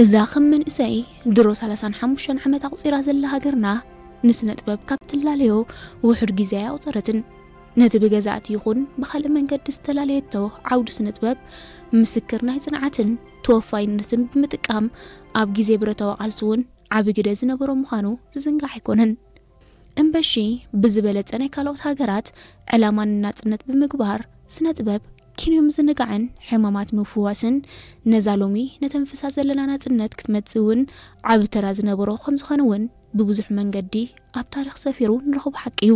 እዛ ከም መንእሰይ ድሮ ሰላሳን ሓሙሽተን ዓመት ኣቑጺራ ዘላ ሃገርና፣ ንስነ ጥበብ ካብ ትላለዮ ውሑድ ግዜ ኣያቑጸረትን። ነቲ ብገዛእቲ ይኹን ብኻልእ መንገዲ ዝተላለየቶ ዓውዲ ስነ ጥበብ፣ ምስክር ናይ ጽንዓትን ተወፋይነትን ብምጥቃም፣ ኣብ ግዜ ብረታዊ ቃልሲ እውን ዓቢ ግደ ዝነበሮ ምዃኑ ዝዝንጋዕ ኣይኮነን። እምበሺ፣ ብዝበለጸ ናይ ካልኦት ሃገራት ዕላማ ንናጽነት ብምግባር፣ ስነ ጥበብ ኪንዮ ምዝንጋዕን ሕማማት ምፍዋስን፣ ነዛ ሎሚ ነተንፍሳ ዘለና ናጽነት ክትመጽእ እውን ዓቢ ተራ ዝነበሮ ከም ዝኾነ እውን ብብዙሕ መንገዲ ኣብ ታሪኽ ሰፊሩ ንረኽቦ ሓቂ እዩ።